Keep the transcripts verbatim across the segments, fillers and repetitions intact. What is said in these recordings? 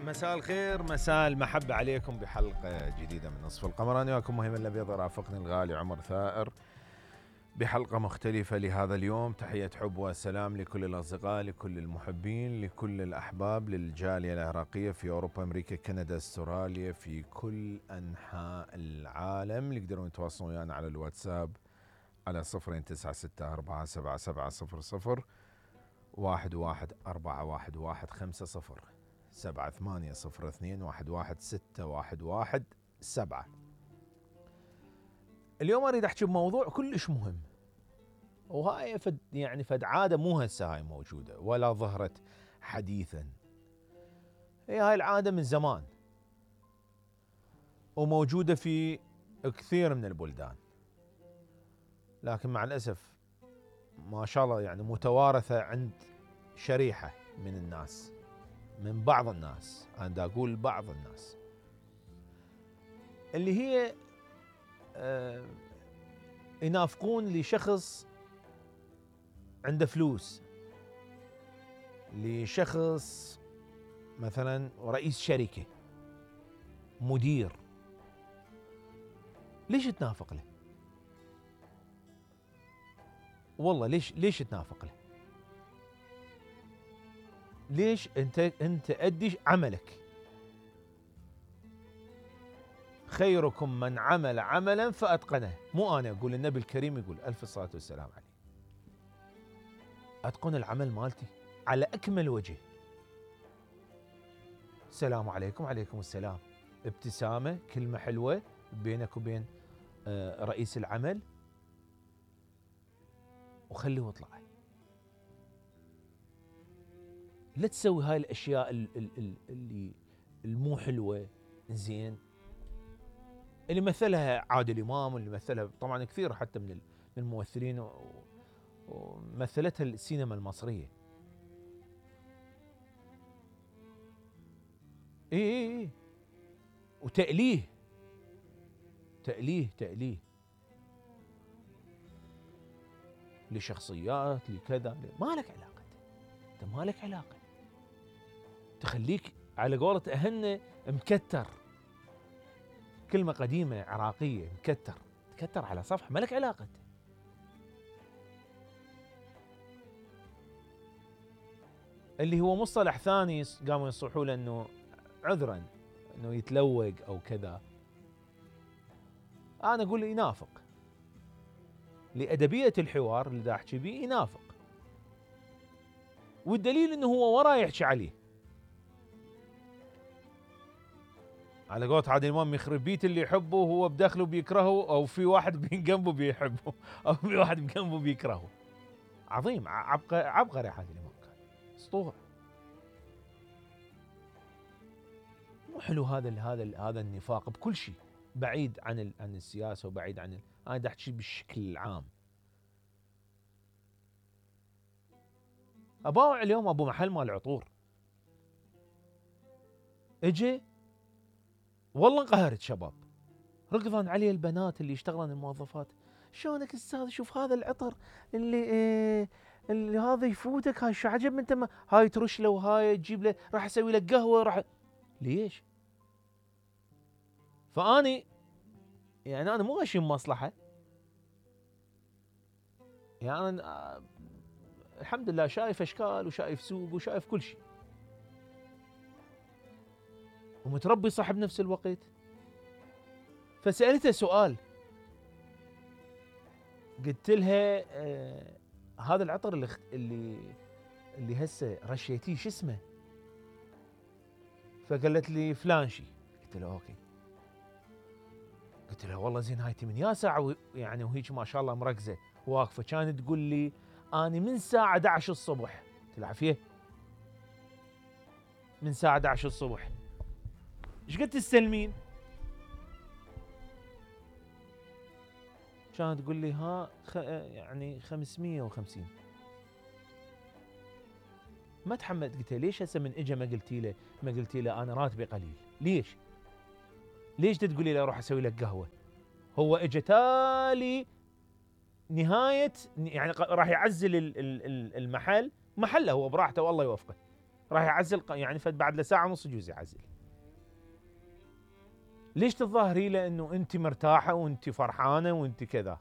مساء الخير، مساء المحبة عليكم بحلقة جديدة من نصف القمر. أنا وياكم مهم الأبيض، رافقني الغالي عمر ثائر بحلقة مختلفة لهذا اليوم. تحية حب وسلام لكل الأصدقاء، لكل المحبين، لكل الأحباب، للجالية العراقية في أوروبا، أمريكا، كندا، استراليا، في كل أنحاء العالم. اللي يقدرون يتواصلون ويانا على الواتساب على صفرين تسعة ستة أربعة سبعة سبعة صفر صفر واحد واحد أربعة واحد واحد خمسة صفر سبعة ثمانية صفر اثنين واحد واحد ستة واحد واحد سبعة. اليوم أريد أحكي بموضوع كلش مهم، وهاي فد يعني فد عادة مو هسه هاي موجودة ولا ظهرت حديثا. هي هاي العادة من زمان وموجودة في كثير من البلدان، لكن مع الأسف ما شاء الله يعني متوارثة عند شريحة من الناس، من بعض الناس. أنا أقول بعض الناس اللي هي آه ينافقون لشخص عنده فلوس، لشخص مثلا رئيس شركة، مدير. ليش تنافق له؟ والله ليش ليش تنافق له؟ ليش انت انت ادي عملك؟ خيركم من عمل عملا فاتقنه. مو انا اقول، النبي الكريم يقول الف الصلاه والسلام عليه. اتقن العمل مالتي على اكمل وجه. السلام عليكم. عليكم السلام. ابتسامه، كلمه حلوه بينك وبين رئيس العمل، وخليه واطلع. لا تسوي هاي الاشياء اللي المو حلوه. زين، اللي مثلها عادل امام، واللي مثلها طبعا كثير حتى من الممثلين، ومثلتها السينما المصريه. اي اي اي وتأليه تأليه تأليه لشخصيات، لكذا. ما لك علاقه، انت ما لك علاقه. تخليك على قولة أهلنا مكتر، كلمة قديمة عراقية، مكتر. تكتر على صفحة، ما لك علاقة. اللي هو مصطلح ثاني قاموا ينصحوا له انه عذرا انه يتلوق او كذا. انا اقول ينافق لأدبية الحوار اللي دا احكي بيه، ينافق. والدليل انه هو وراه يحكي عليه. على قولة عادل امام، يخرب بيت اللي يحبه وهو بداخله بيكرهه، او في واحد بجنبه بيحبه، او في واحد بجنبه بيكرهه. عظيم، عبقري عبقري عادل امام، كان اسطوره. مو حلو هذا هذا هذا النفاق بكل شيء، بعيد عن عن السياسه وبعيد عن ال... انا دا احكي بالشكل العام. اباوع اليوم ابو محل مال عطور اجي، والله انقهرت. شباب ركضن عليه البنات اللي يشتغلن الموظفات. شلونك استاذ؟ شوف هذا العطر اللي إيه اللي هذا يفوتك، هاي شو عجب انت، ما هاي ترش له وهاي تجيب له، راح اسوي لك قهوه. راح ليش؟ فاني يعني انا مو غشيم مصلحه. يعني أنا الحمد لله شايف اشكال وشايف سوق وشايف كل شيء، ومتربي صح بنفس الوقت. فسألته سؤال، قلت لها آه هذا العطر اللي اللي اللي هسه رشيتيه شو اسمه؟ فقالت لي فلان شي. قلت له اوكي. قلت لها والله زين، هاي من يا ساعه يعني وهيك ما شاء الله مركزه واقفه. كانت تقول لي اني من الساعه احد عشر الصبح. قلت لها عافيه، من الساعه احد عشر الصبح ايش قد تستلمين؟ كانت تقول لي ها خ... يعني خمسمية وخمسين. ما تحملت. قلت له ليش هسه من اجى ما قلتي له ما قلتي له انا راتبي قليل؟ ليش؟ ليش تقولي له اروح اسوي لك قهوه؟ هو اجى تالي نهايه يعني راح يعزل المحل، محله هو براحته والله يوفقه. راح يعزل يعني فد بعد له ساعه ونص يجوز يعزل. ليش تتظاهري له انه انت مرتاحه وانت فرحانه وانت كذا؟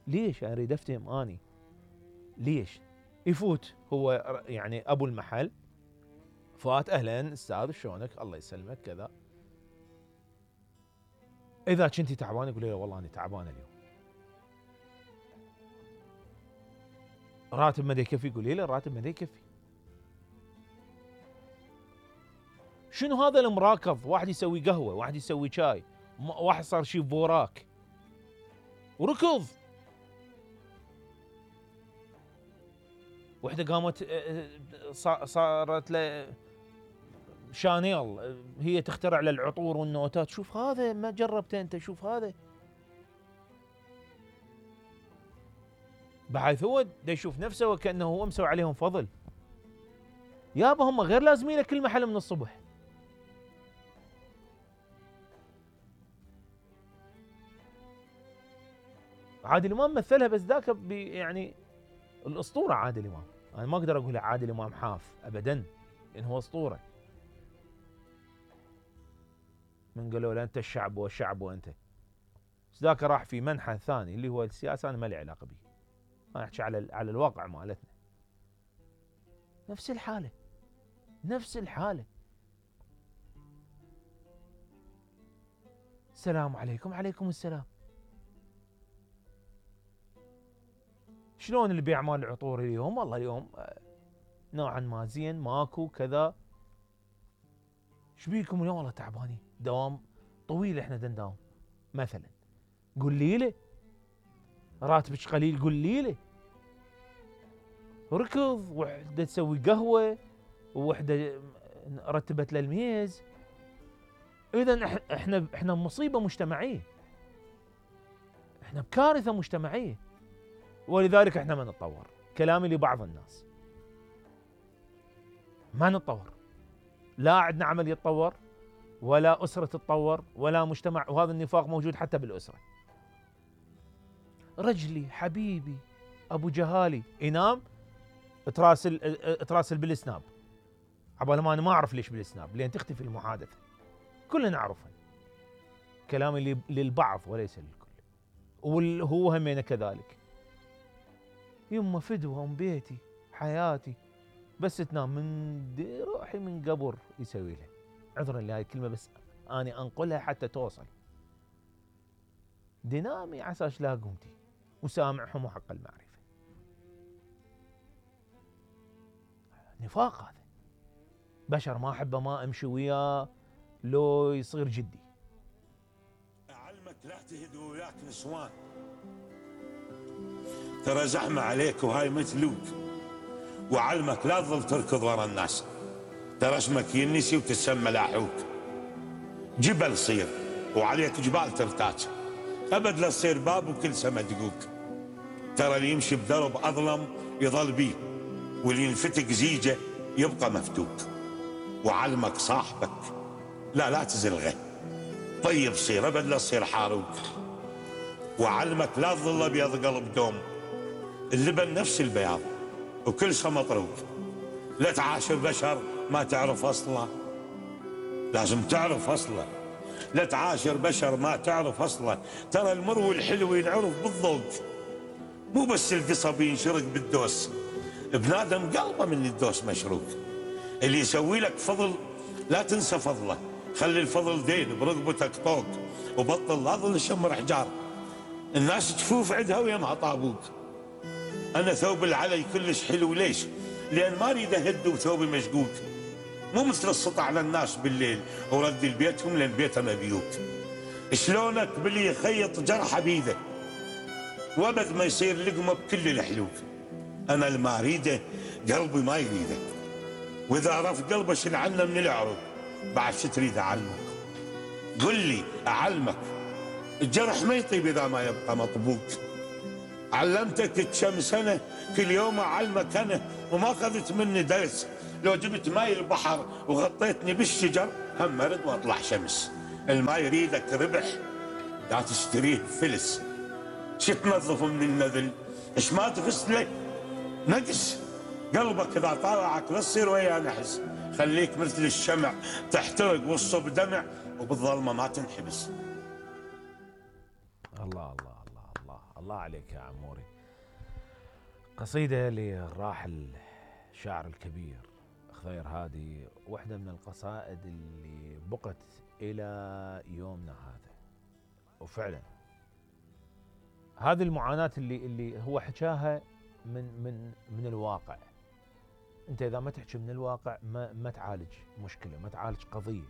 ليش؟ اريد افتهم اني ليش يفوت هو يعني ابو المحل، فات اهلا استاذ شلونك الله يسلمك كذا، اذا كنتي تعبانه يقول له والله انا تعبانه اليوم. راتب ما يكفي يقول له الراتب ما يكفي. شنو هذا المراكض؟ واحد يسوي قهوه، واحد يسوي شاي، واحد صار شي بوراك وركض، وحده قامت صارت له شانيل هي تخترع له العطور والنوتات. شوف هذا ما جربته انت، شوف هذا. بحيث هو دا يشوف نفسه وكأنه هو مسوي عليهم فضل. يابا هم غير لازمين كل محل من الصبح. عادل امام مثلها بس ذاك يعني الاسطوره عادل امام، انا ما اقدر اقول عادل امام حاف ابدا لان هو اسطوره. من قالوا له انت الشعب والشعب وانت، بس ذاك راح في منحى ثاني اللي هو السياسه، انا ما لي علاقه به، انا احكي على على الواقع مالتنا. نفس الحاله نفس الحاله. السلام عليكم. عليكم السلام. شلون البيع مال العطور اليوم؟ والله اليوم نوعا ما زين، ماكو كذا. ايش بيكم اليوم؟ والله تعبانين، دوام طويل احنا دنداوم مثلا. قولي له راتبك قليل، قولي له. ركض، وحده تسوي قهوه، ووحده رتبت له الميز. اذا احنا احنا مصيبه مجتمعيه، احنا بكارثه مجتمعيه، ولذلك احنا ما نتطور. كلامي لبعض الناس، ما نتطور، لا عندنا عمل يتطور، ولا اسره تتطور، ولا مجتمع. وهذا النفاق موجود حتى بالاسره. رجلي حبيبي ابو جهالي ينام تراسل تراسل بالسناب، عبال ما انا ما اعرف ليش بالسناب، لين تختفي المحادثه. كلنا نعرفها. كلامي للبعض وليس للكل، وهو همينه كذلك. يمه فدوه ام بيتي حياتي، بس تنام من روحي من قبر يسوي لها. عذرا لهاي الكلمه بس اني انقلها حتى توصل. دنامي عساش لا قمتي، وسامعهم وحق المعرفه. نفاق هذا. بشر ما احبه ما امشي وياه لو يصير جدي. اعلمك لا تهد وياك نسوان، ترى زحمه عليك وهاي مثلوك. وعلمك لا تظل تركض ورا الناس، ترى اسمك ينسي وتسمى لاحوك. جبل صير وعليك جبال ترتاج، ابد لا تصير باب وكل سما دقوك. ترى اللي يمشي بدرب اظلم يظل بيه، واللي ينفتك زيجه يبقى مفتوك. وعلمك صاحبك لا لا تزلغه، طيب صير ابد لا تصير حاروك. وعلمك لا تظل ابيض قلب دوم، اللبن نفس البياض وكل شيء مطروق. لا تعاشر بشر ما تعرف اصله، لازم تعرف اصله. لا تعاشر بشر ما تعرف اصله، ترى المر والحلو ينعرف بالذوق، مو بس القصب ينشرق بالدوس. بنادم قلبه من الدوس مشروق. اللي يسوي لك فضل لا تنسى فضله، خلي الفضل دين برقبتك طوق، وبطل لا ظل شمر حجار. الناس تشوف عندها ويمها طابوك. انا ثوب العلي كلش حلو، ليش؟ لان ما اريد اهد وثوبي مشقوق. مو مثل السطع على الناس بالليل ورد لبيتهم لان بيتهم ابيوك. شلونك باللي يخيط جرحه بيده وابد ما يصير لقمه بكل الحلوك. انا اللي ما اريده قلبي ما يريده، واذا عرف قلبه شل عنه من العروق. بعد شو تريد اعلمك؟ قل لي اعلمك. الجرح ما يطيب اذا ما يبقى مطبوق. علمتك كم سنه كل يوم اعلمك انا، وما اخذت مني درس. لو جبت ماي البحر وغطيتني بالشجر هم مرد واطلع شمس. الماي يريدك ربح لا تشتريه فلس. شو تنظف من النذل؟ ايش ما تفس له نقص. قلبك اذا طالعك لا تصير ويا نحس، خليك مثل الشمع تحترق والصب دمع وبالظلمه ما تنحبس. الله الله الله الله الله عليك يا عموري. قصيدة للراحل الشاعر الكبير خضير هادي، واحدة من القصائد اللي بقت إلى يومنا هذا. وفعلا هذه المعاناة اللي اللي هو حكاها من من من الواقع. انت اذا ما تحكي من الواقع ما ما تعالج مشكلة، ما تعالج قضية.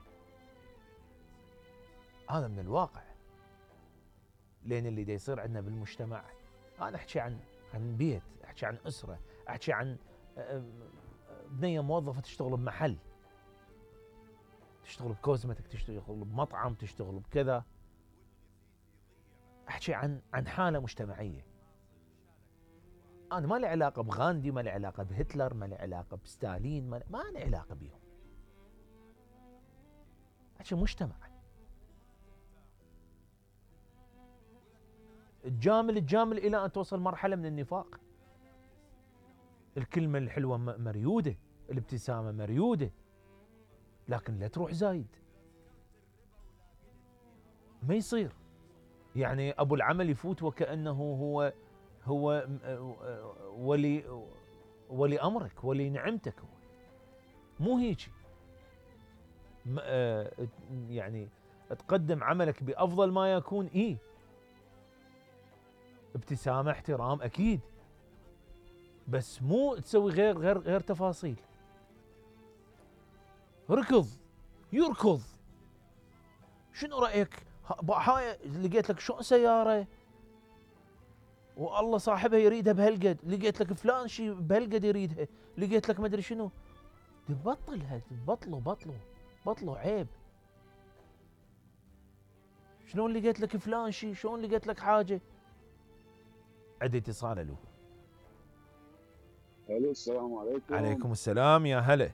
هذا من الواقع. لان اللي دا يصير عندنا بالمجتمع، انا احكي عن عن بيت، احكي عن اسرة، احكي عن بنية موظفة تشتغل بمحل، تشتغل بكوزمتك، تشتغل بمطعم، تشتغل بكذا. احكي عن عن حالة مجتمعية. انا ما لي علاقة بغاندي، ما لي علاقة بهتلر، ما لي علاقة بستالين، ما, ما لي علاقة بيهم. احكي مجتمع. تجامل تجامل الى ان توصل مرحلة من النفاق. الكلمة الحلوة مريودة، الابتسامة مريودة، لكن لا تروح زايد. ما يصير. يعني ابو العمل يفوت وكأنه هو هو ولي ولي امرك، ولي نعمتك. هو مو هيك. يعني تقدم عملك بافضل ما يكون. ايه ابتسامة، احترام، اكيد، بس مو تسوي غير غير غير تفاصيل. ركض يركض. شنو رايك؟ هاي لقيت لك شو سياره والله صاحبها يريدها بهالقد، لقيت لك فلان شي بهالقد يريدها، لقيت لك ما ادري شنو. تبطل هال بطلوا بطلوا بطلوا عيب. شلون لقيت لك فلان شي؟ شلون لقيت لك حاجه؟ عندي اتصال. الو. الو السلام عليكم. عليكم السلام يا هلا.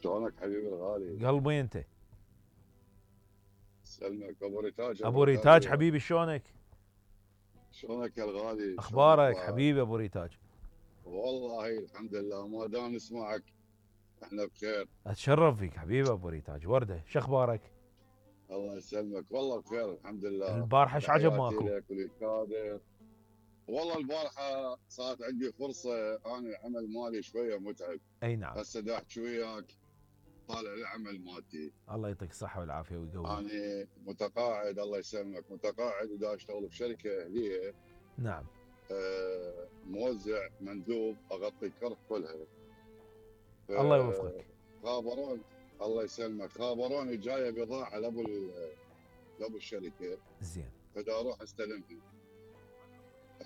شلونك حبيبي الغالي؟ قلبي انت. سلمك ابو ريتاج. ابو ريتاج حبيبي، شلونك؟ شلونك يا الغالي؟ اخبارك حبيبي ابو ريتاج؟ والله الحمد لله، ما دام نسمعك احنا بخير. اتشرف فيك حبيبي ابو ريتاج. ورده، شو اخبارك؟ الله يسلمك، والله بخير الحمد لله. البارحه ايش عجب ماكو؟ لك وللكادر. والله البارحه صارت عندي فرصه، انا العمل مالي شويه متعب. اي نعم. هسه دا احكي وياك طالع العمل مالتي. الله يعطيك الصحه والعافيه ويقويك. انا متقاعد الله يسلمك، متقاعد ودا اشتغل بشركه اهليه. نعم. آه موزع مندوب اغطي الكرف كلها. الله يوفقك. خابرون الله يسلمك، خابروني جايه بضاعه لابو لابو الشركه. زين. فدا اروح استلمها.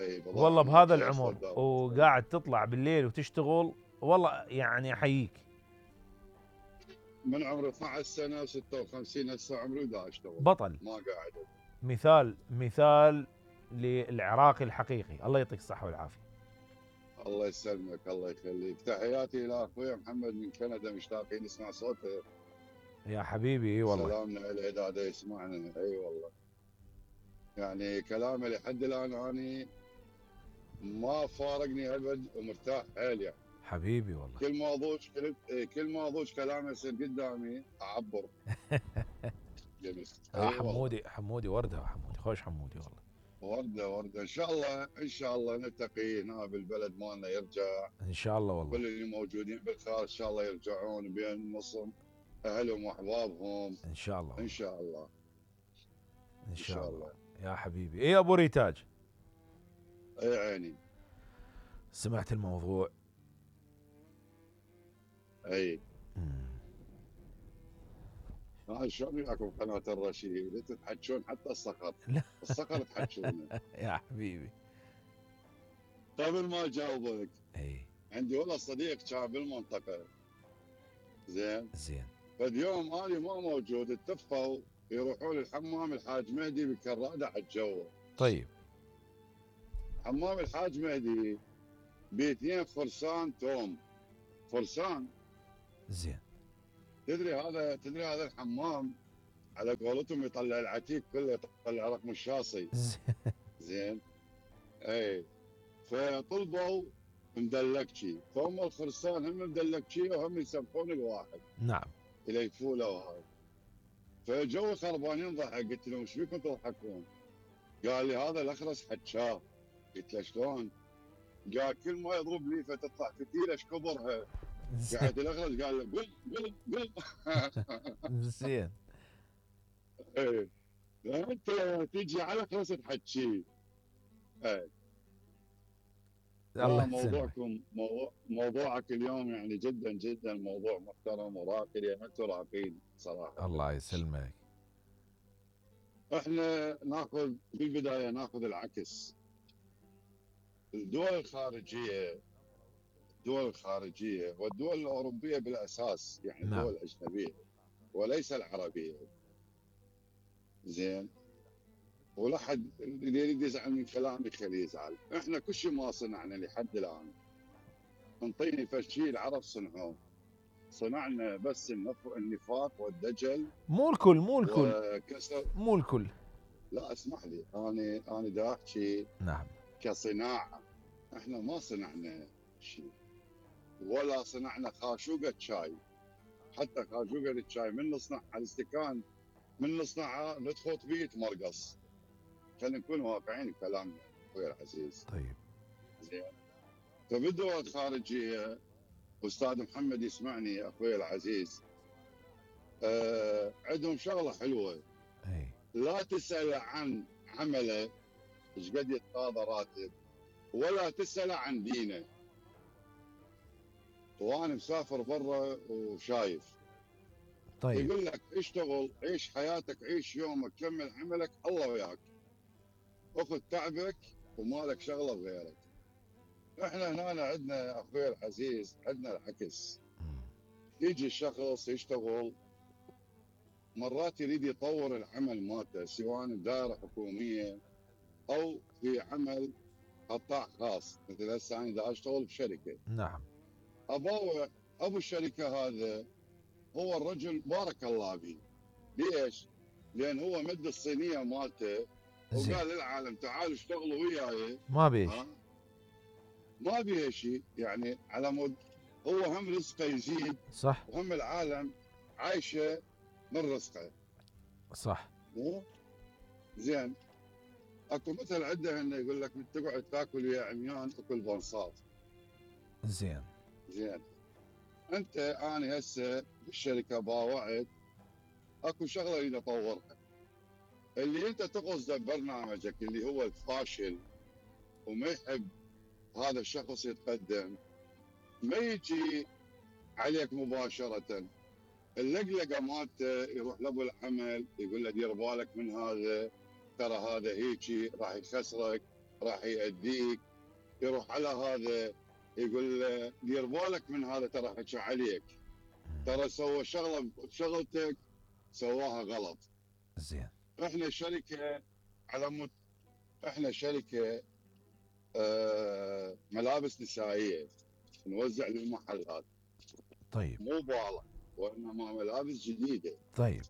اي والله بهذا العمر وقاعد تطلع بالليل وتشتغل، والله يعني احييك. من عمري اثنعش سنه ستة وخمسين، هسه عمري دا اشتغل. بطل. ما قاعد. مثال مثال للعراقي الحقيقي. الله يعطيك الصحه والعافيه. الله يسلمك الله يخليك. تحياتي الى اخوي محمد من كندا، مشتاقين نسمع صوته. يا حبيبي. اي والله. سلامنا له اذا دا يسمعنا. اي والله. يعني كلامه لحد الان اني ما فارقني ابد ومرتاح حيل يعني. حبيبي والله. كل ما اضوج كل كل ما اضوج كلامه يصير قدامي اعبر. جميل. آه حمودي حمودي ورده. حمودي خوش حمودي والله. ورده ورده. ان شاء الله ان شاء الله نلتقي هنا بالبلد مالنا، يرجع ان شاء الله والله. كل اللي موجودين بالخارج ان شاء الله يرجعون بين نصهم اهلهم واحبابهم. ان شاء الله. ان شاء الله. ان شاء, إن شاء الله. الله يا حبيبي. ايه ابو ريتاج. اي عيني. سمعت الموضوع؟ اي. ها شلون وياكم قناه الرشيد تتحجون حتى الصقر. لا الصقر تحجونه. يا حبيبي. قبل ما اجاوبك، اي عندي والله صديق كان بالمنطقه. زين. زين. فاليوم انا ما موجود، اتفقوا يروحون الحمام الحاج مهدي بكراده على الجو. طيب. حمام الحاج مهدي باثنين فرسان توم. فرسان. زين. تدري هذا تدري هذا الحمام على قولتهم يطلع العتيق كله، يطلع رقم الشاصي. زين. اي. فطلبوا مدلكشي، فهم الخرسان هم مدلكشي وهم يسبحون الواحد نعم. يليفوا له وهاي. فجو خربانين ضحك، قلت لهم ايش بيكم تضحكون؟ قال لي هذا الاخرس حجاه. قلت له شلون؟ قال كل ما يضرب ليفه تطلع فتيله ايش كبرها. قاعد الاخرس قال له قل قل قل. زين. ايه انت تيجي على خلاص تحكي. ايه الله يسلمك. موضوعكم موضوع موضوعك اليوم يعني جدا جدا موضوع محترم وراقي، لان انتم راقين صراحه. الله يسلمك. احنا ناخذ بالبدايه ناخذ العكس. الدول الخارجيه الدول الخارجيه والدول الاوروبيه بالاساس، يعني نعم. الدول الاجنبيه وليس العربيه. زين. ولا حد اللي يريد يزعل من كلامي خليه يزعل. احنا كل شيء ما صنعنا لحد الان. انطيني فشي العرب صنعوه. صنعنا بس النف- النفاق والدجل. مو الكل مو الكل وكسر. مو الكل. لا اسمح لي، انا انا دا احكي نعم. كصناعه. احنا ما صنعنا شيء، ولا صنعنا خاشوقه شاي. حتى خاشوقه الشاي من نصنعها الاستكان، من نصنعها ندخل بيه يتمرقص. خلينا نكون واقعيين بكلامنا اخوي العزيز. طيب. زين. فبالدول الخارجيه، استاذ محمد يسمعني اخوي العزيز، آه عندهم شغله حلوه. اي. لا تسال عن عمله ايش قد يتقاضى راتب، ولا تسال عن دينه. وانا مسافر برا وشايف. طيب. يقول لك اشتغل، عيش حياتك، عيش يومك، كمل عملك، الله وياك. اخذ تعبك ومالك شغله بغيرك. احنا هنا عندنا اخوي العزيز، عندنا العكس. مم. يجي الشخص يشتغل، مرات يريد يطور العمل مالته سواء بدائره حكوميه او في عمل قطاع خاص. مثل هسه انا دا اشتغل بشركه. نعم. ابو ابو الشركه هذا هو الرجل بارك الله به. ليش؟ لان هو مد الصينيه مالته زين. وقال للعالم تعالوا اشتغلوا وياي. ما بيش. ها؟ ما بيها شيء، يعني على مود هو هم رزقه يزيد، صح. وهم العالم عايشه من رزقه. صح. مو زين. اكو مثل عنده انه يقول لك تقعد تاكل ويا عميان اكل بنصات. زين. زين. انت انا هسه بالشركه باوعت اكو شغله اريد اطورها. اللي انت تقصده ببرنامجك اللي هو الفاشل وما يحب هذا الشخص يتقدم، ما يجي عليك مباشره. اللقلقه مالته يروح لابو العمل يقول له دير بالك من هذا، ترى هذا هيجي راح يخسرك، راح يأديك. يروح على هذا يقول له دير بالك من هذا، ترى حكى عليك، ترى سوى شغله بشغلتك سواها غلط. زين. احنا شركه على مت... احنا شركه آه ملابس نسائيه نوزع للمحلات. طيب. مو بالغ، وانما ملابس جديده. طيب.